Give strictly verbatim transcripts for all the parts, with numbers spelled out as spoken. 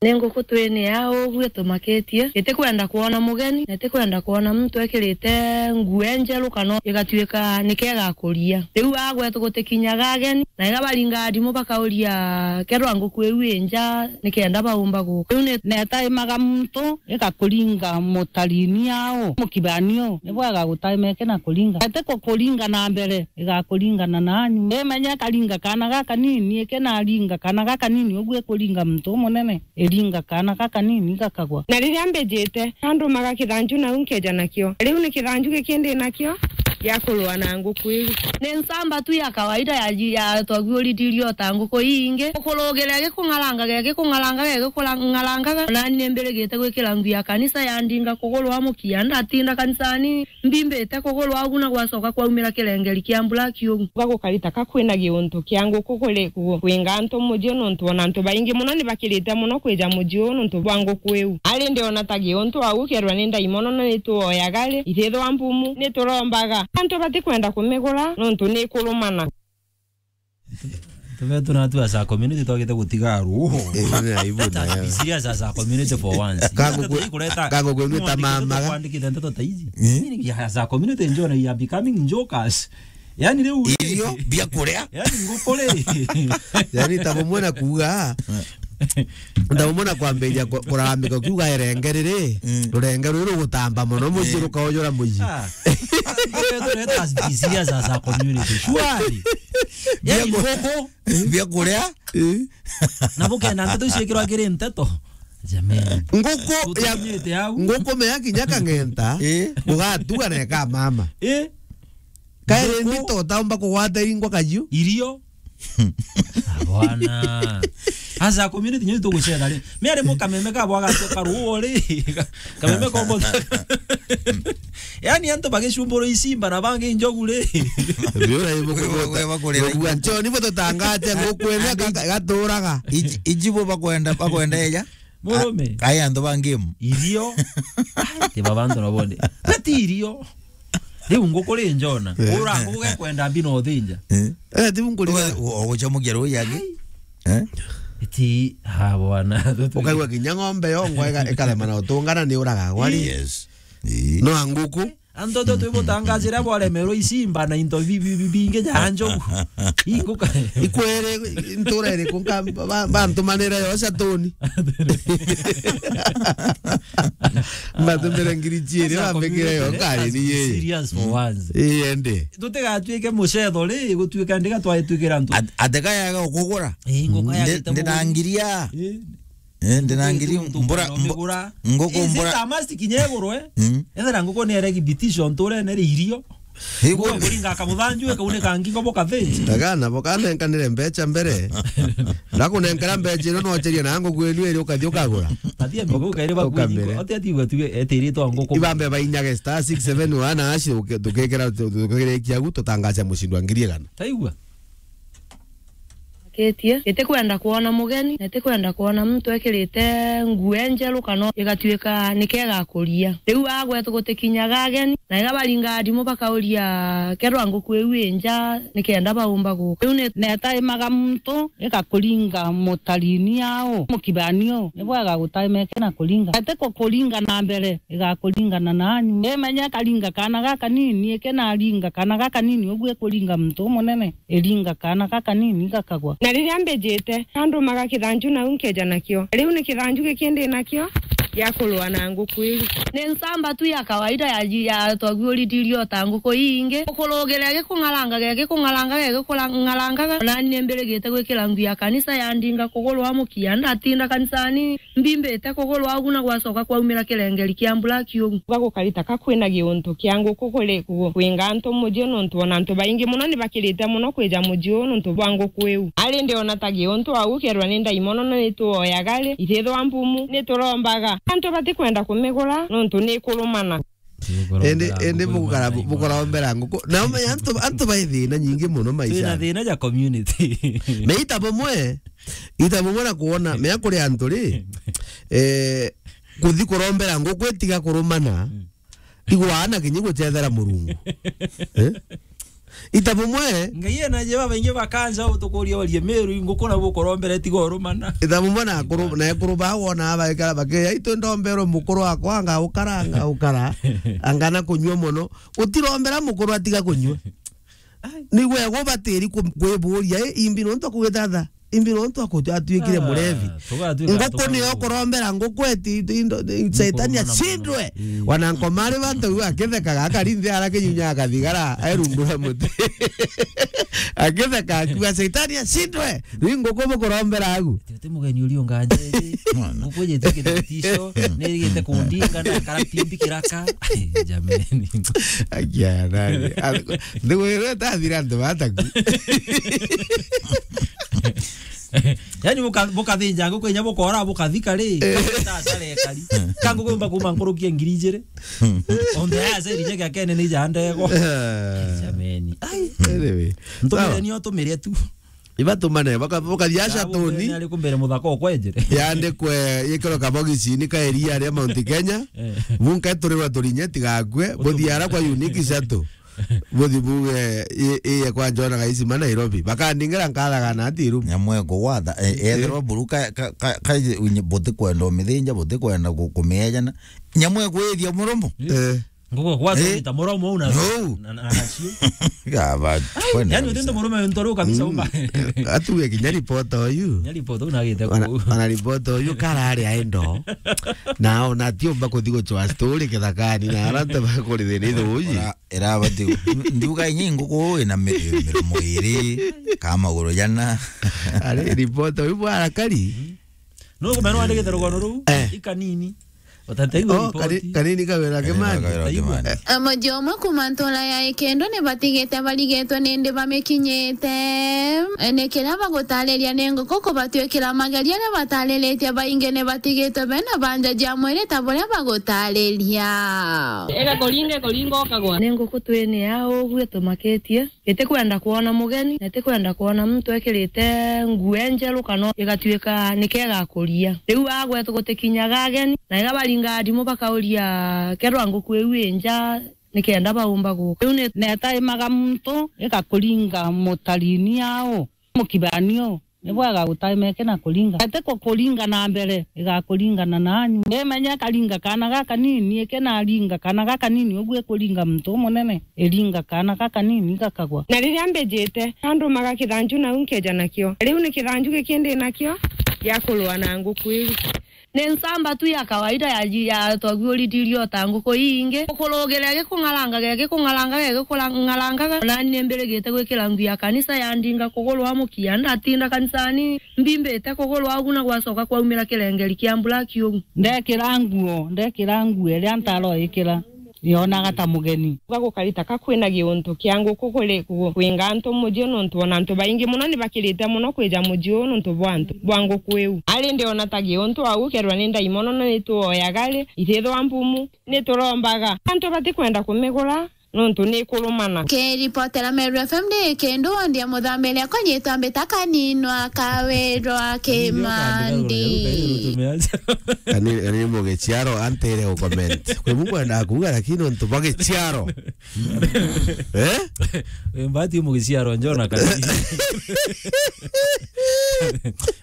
Ni nguku twini ya uguo tumakitie, itikwenda kwona mugeni, na itikwenda kwona muntu ekirite nguo njeru kana igatuika nike igakuria. Riu agwetu gutikinyaga ageni, na iga baringaga ndimu bakauria, "Kerwa nguku iu i nja, nikenda baumba guka?" Riu ni netaimaga muntu igakuringa mutarini yao, mukibani u, ni bwega gutaima iki na kuringa. Ati kukuringa na mbere, igakuringana nanyu. Imenya ikaringa kana gakanini, iki naringa kana gakanini, uguo ikuringa muntu umunene, iringa kana gakanini gakagwa. Na riria mbijite, andumaga kithanju nau nkeja nakio. Riu ni kithanju giki ndi nakio gia kurua na nguku iu. Ni nsamba tu ya kawaida ya, ya twaguuritirio ta nguku ii ingi. Gukurugiria gikung'arangaga, gikung'arangaga, gikung'arangaga. Nani ni mbirigite gwikira nguo ya kanisa ya ndinga kugurwa mukia. Ndatinda kanisani, mbimbite kugurwa ugu na gwacoka kwaumira kirengeri kia mbura kiugu. Gagukarita ka kwina giuntu kia nguku kuri ku-, kwinga antu muji, nontu ona antu baingi mono ni bakirite mono kwija muji uu nontu bwa nguku iu. Ari ndiona ta giuntu au kerwa ni ndaimono na ni tuoyaga ri, ithithwa mbumu, ni turombaga. Antu batikwenda kumigura nontu ni kurumana. Tume tuna tu as a community twagite gutiga ruho. Eh, ni aibu nayo. Be serious as a community for once. Kango kwe-, kureta kango kwenu ta mama ga. Kwandikite ndeto ta ici. Eh? Ni as a community njona you are becoming jokers. Yani riu irio bia kuria. Yani nguku ri. Yani ta bumwe na kuuga. Ta bumwe na kwambiria ku-, kurambika ukiuga irenge riri, mm, rurenge ruru rugutamba mono, muji, eh, rukaujura muji. Ah. Let us be serious as a community. Surely. Yani nguku. Bia kuria. Eh. Na bukenda nteto iciikirwa kiri nteto. Jamani. Nguku ya, tutukinyite au. Nguku mea kinya kang'enta, eh, ugatuga na eka mama. Eh. Kairi nguku. Mbito utaumba kugwata iringwa kajiu. Irio. Ah, bwana. Asa community nyo tugucetha ri. Mi ari mo kameme ka bwaga karuo ri. Kameme kombo. Yani antu bagicumbura isimba na bangi njogu ri. Biura ibo. Wewe, wewe bakurira. Nchoni bo tutangaje nguku ene gaturaga. Iji-, ijibo bakwenda, bakwenda eja. Murume. A-, aya antu ba game. Irio. Ai, ti baba antu na bonde. Bati irio. Riu nguku ri njona. Eh. Ura nguku gekwenda mbi no thinja. Eh. Eh, ti nguku ri. Uga-, u-, ugucamukia rui yangi. Ai. Eh? Iti, ha, bwana. Ukaigua kinya ng'ombe yongwa ika-, ikarema na utungana ni uraga gwari. Yes. Ii. No a nguku. Antu tu twibutangacira bwaremerwe isimba na into bi-, bi-, bi-, bingi ja njogu. Inguka. Ikwere, ntura iriku nka, ba-, bantumanire yo satuni. Mbatumire ngiri ciiri, bambikire yo ngari ni yeye. Serious for once. Ii, ende. Tutigatuike mucetho ri, gutuika ndiga twatuikira antu. At-, ateka yaga ukugura. Ii, nguka. Ndi-, yagite ndina ngiri ya. Ii. Eh, ndina ngiri mbura, mbu-, nguku mbura. Is it a must kinya igurwe? Mm. Ethera nguku ni eregi bitisho nturene ri irio. Igurwe. Nguku kuringa kamuthanju, ekauneka ngingo boka thĩnji. Taga nabo kanenkanire mbeca mbere. Ndakunenkera mbeca ino, nocheria na nguku enu iri ukathi ukagura. Atia migo kairi bakuingo. Ukamere. Atia tigwa tuge etiritwa nguku. Ibambe bainyage star six seven one hash, uke-, tukikira, tu-, tukirikia gu, tutangaca mushindi wa ngiri igana. Taigua? Kitie, itikwenda kwona mugeni, na itikwenda kwona muntu ekirite nguo enjeru kana igatuika nike igakuria. Riu agwetu gutikinyaga ageni, na iga baringa ndimu bakauria, "Kerwa nguku iu i nja, nikenda baumba guka?" Riu ni netaimaga muntu, igakuringa mutarini yao, mukibani u, ni bwega gutaima iki na kuringa. Ati kukuringa na mbere, igakuringana nanyu. Imenya ikaringa kana gakanini, iki naringa kana gakanini, uguo ikuringa muntu umunene. Iringa kana gakanini gakagwa. Na riria mbijite, andumaga kithanju nau nkeja nakio. Riu ni kithanju giki ndi nakio gia kurua na nguku iu. Ni nsamba tu ya kawaida ya ji-, ya twaguuritirio ta nguku ii ingi. Gukurugiria gikung'arangaga, gikung'arangaga, gikung'arangaga. Nani ni mbirigite gwikira nguo ya kanisa ya ndinga kugurwa mukia. Ndatinda kanisani, mbimbite kugurwa ugu na gwacoka kwaumira kirengeri kia mbura kiugu. Gagukarita ka kwina giuntu kia nguku kuri ku-, kwinga antu muji, nontu ona antu baingi mono ni bakirite mono kwija muji uu nontu bwa nguku iu. Ari ndiona ta giuntu au kerwa ni ndaimono na ni tuoyaga ri, ithithwa mbumu, ni turombaga. Antu batikwenda kumigura nontu ni ikurumana. Indi, indi bukara-, bukarombera nguku. Na umenya antu, antu bai thina nyingi mono maisha. Twina thina ja community. Meita bumwe, ita bumwe na kuona, mea kuri antu ri, eh, kuthi kurombera nguku itiga kurumana, mm, igwana kinyi gucethera Murungu. Eh? Ita bumwe. Ngai ena je babaingi bakanja utukuria orie Meru, nguku na bukorombere tiga urumana. Ita bumwe na akuru, na ekuru ba wona baikara bakeya, "Itu ndomberwe mukuru wakwa anga ukara, anga ukara, anga na kunyua mono." Utirombera mukuru atiga kunyua. Ai. Ni gwe gubatiri ku-, kwiburia, "Eh, imbi nontu akugithatha? Imbi nontu aku-, atuikire murevi?" Tugatuika nguku niyo tukurombera nguku eti, eti, indo, i-, Setani acindwe. Ii. Wana nkomari bantu u akithekaga, akari nthi ara kinyunya akathigara, erundura muti. Akitheka, akiuga, "Setani acindwe." Riu nguku bukurombera agu. Ti, ti mugeni uri unganja iri. Mwana. Nguku ijite kithuticio, nirigite kundinga na karatimbi kiraka. Ai, jameni. Akia nani? Ndigwirwe tathira antu bataku. Yani buka-, bukathinja nguku inya bukora bukathika ri? Eh. Tasare kari. Ka nguku yumba kuma nkurukia ngiri ijiri. Onthe aya ceri nyagia kene ni jandego. Eh. Jameni. Ai. Anyway. Ntumire. Sawa. Nio tumire tu. Ibatumane, baka-, bakathia aca tuni. Ari kumbere muthaka okwenjere. Yandikwe, yikirwe kabogicini ka iria ria Mount Kenya. Eh. Bunka iturirwa turinye tigakue, buthia ara kwa Unique Shuttle. Buthi buge, i, i, kwa Jona Gaisima Nairobi. Bakandingira nkathaga na ati iru. Nyamwe kugwatha, e, ethirwa buru ka, ka, ka, ka, unye-, butikwenda umithinja, butikwenda ku-, kumiejana. Nyamwe kwithia muromo. Eh. Nguku gwatwita muromo una. No. Na, na, na cio. Ga, ba, kwenda. Yani kabisa. Utinde murume ntoru kabisa umba. Atuge kinya ripota uyu. Nya ripota una gite ku. Ana ripota uyu karari aindo. Na ona ti umba kuthi gucwa story kithakani na arante bakurithira ithuji. Ora, irabati. Nduga inyi nguku ina mi-, miromo iri, ka maguru jana. Ari ripota uyu bwara kari. No kumeno andikite rugono ruu. Eh. Ikanini. Utataiwa. Oh, ripoti. Kani-, kanini kawira. Kanini kimani. Kawira kimani. Amoji omwe kuma ntura ya Ikendo ni batigite barigitwe ni ndi bamikinyite. Ni kiria bagutariria ni nguku kubatwikira mageria aria batariritie baingi ni batigitwe bena banja ja mwiri ta buria bagutariria. Ega kuringa, kuringa ukagwa. Ni nguku twini ya ugu itumakitie. Itikwenda kwona mugeni, na itikwenda kwona muntu ekirite nguo enjeru kana igatuika nike igakuria. Riu agwe gutikinyaga ageni, na iga baringaga ndimu bakauria, "Kerwa nguku iu i nja, nikenda baumba guka?" Riu ni- netaimaga muntu igakuringa mutarini au, mukibanio. Ni bwega gutaimeke na kuringa. Ati ku-, kuringa na mbere, igakuringana nanyu. Ndimenya ikaringa kana gaka nini, ikinaringa kana gaka nini, uguo ikuringa muntu umunene, iringa kana gaka nini, igakagwa. Na riria mbijite, andumaga kithanju nau nkeja nakio. Riu ni kithanju giki ndi nakio gia kurua na nguku iu. Ni nsamba tu ya kawaida ya ji-, ya twaguuritirio ta nguku ii ingi. Gukurugire gikung'arangaga, gikung'arangaga, gikung'arangaga. Nani ni mbirigite gwikira nguo ya kanisa ya ndinga kugurwa mukia. Ndatinda kanisani, mbimbite kugurwa ugu na gwacoka kwaumira kirengeri kia black ugu. Ndekira nguo, ndekira nguo iria ntaroikira. Yonaga ta mugeni. Uga gukarita ka kwina giuntu kia nguku kuri ku-, kwinga antu muji nontu ona antu baingi muno ni bakirite muno kwija muji uu nontu bwa antu, bwa nguku iu. Ari ndiona ta giuntu au kerwa ni ndaimono no ituoyaga ri, itithwa mbumu, ni turombaga. Antu batikwenda kumigura nontu ni ikurumana. Kiripotera Meru F M ndi Ikendo, wandi ya Muthambiria, konyitwa mbita Kaninwa Kawirwa Kimandi. Kani, kani mugiciaro antere u comment. Kwi mukwenda kuuga, lakini untu bwa giciaro. Eh? Mbati mugiciaro njona kani.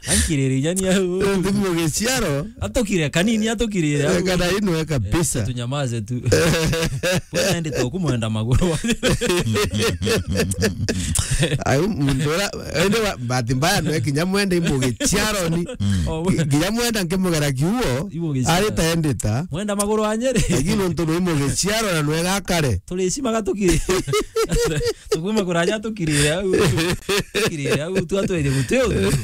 Ankirire jani au. Untu mugiciaro. Atukire kanini, atukire au. Kana inwe kabisa. Eh, tunyamaze tu. Bwana ende tu kumwenda maguru. Ayu muntu ura, ende wa, bahati mbaya nwe kinya mwende imugiciaro ni. Oh, we- Ki-, kinya mwenda nkimugera kiuo, Imugiciaro. Ari ta endita. Mwenda maguru anyere. Lakini untu nwe imugiciaro na nwe gakare. Turicimaga tukiri. Tukuma kuraja tukirire au. Tukirire au, tu atwire guti untu.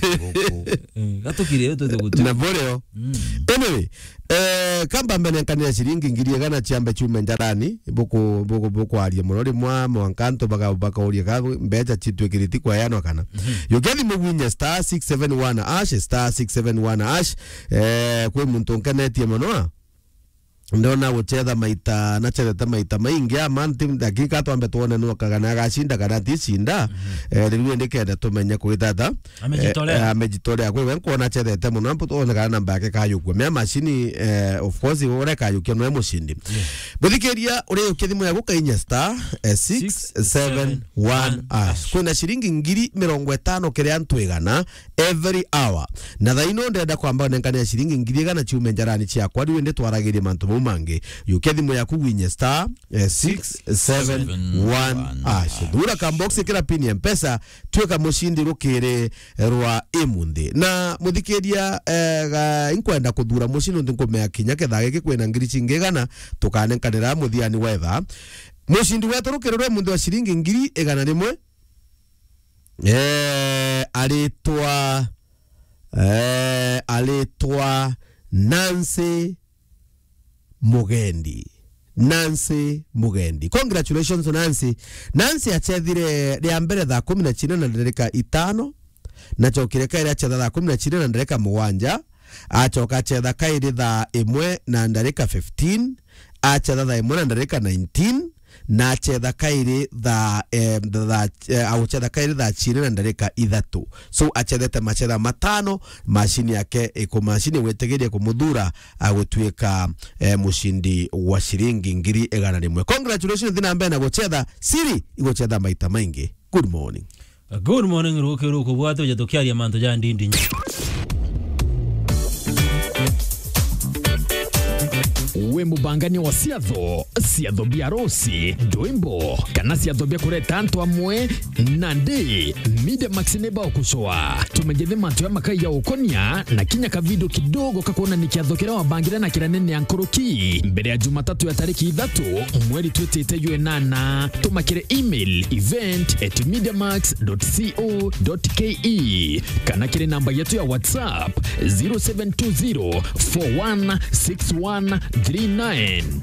Eh, gatukirire twite guti. Na borio. Mm. Anyway, eh, kamba mbene nkanira ciringi ngiri igana ciambe ciume njarani, buku-, buku-, bukwaria muno rimwe, mwanka antu baka-, bakauria ka mbeca citwikiriti kweanwa kana. Mhm. Yukia thimu gwinya star six seven one hash, star six seven one hash, eh, kwi muntu nkenetie muno, a? ndona gucetha maita, nacethete maita maingi a month, dakika twambe twone no kagana agacinda kana ticinda. Eh, riu indi kenda tumenye kwitata. Amejitolea. Eh, eh, amejitolea. Kwa hivyo nkuona acethete muno, ambu tuone kana namba yake kayukua. Mea macini, eh, of course, uria kayukia nwe mucindi. Muthikiria, uri ukia thimu yaku kainya star, eh, six seven one hash. Kwina ciringi ngiri mirongo itano kiri antu igana every hour. Na thaa ino ndenda kwamba nenkane ya ciringi ngiri igana ciume njarani ciakwa, riu indi twaragirie mantu mau mangi. Yukia thimu yaku gwinye star, eh, six seven one hash. Thura ka box kira pin ya Mpesa, tuika mucindi rukiri rwa imunthi. Na muthikiria, eh, ga, inkwenda kuthura mucindi nthi nkumea kinya kethaa giki kwina ngiri cingi igana, tukanenkanira muthiani wa ithaa. Mucindi wetu rukiri rwa imunthi wa ciringi ngiri igana rimwe, eh, aritwa, eh, aritwa Nancy Mugendi. Nancy Mugendi. Congratulations, Nancy. Nancy achethire ria mbere thaa kumi na chine na ndarika itano, na chokire kairi achetha thaa kumi na chine na ndarika mugwanja, achoka achetha kairi thaa imwe na ndarika fifteen, achetha thaa imwe na ndarika nineteen, na achetha kairi thaa, eh, thaa, eh, aguchetha kairi thaa chine na ndarika ithatu. So, achethete machetha matano, macini yake iku-, macini igwitigiria kumuthura agutuika, eh, mucindi wa ciringi ngiri igana rimwe. Congratulations, thi na mbere na guchetha. Siri iguchetha maita maingi. Good morning. Good morning, ruki ruku bwate, uja tukiaria mantu ja ndindi. Wi mubangania wa ciatho, ciatho bia arusi, ndwimbo, kana ciatho bia kureta antu amwe? Nandi, Media Max ni bagucua. Tumenyithie mantu ya makai ya ukonia na kinya kavidio kidogo kakuonania kiatho kiria wabangire na kiria nene ya nkuruki mbere ya Jumatatu ya tariki ithatu, mweri twitite jwa inana. Tuma kiri email event at mediamax dot co dot ke kana kiri namba yetu ya WhatsApp zero seven two zero four one six one three nine.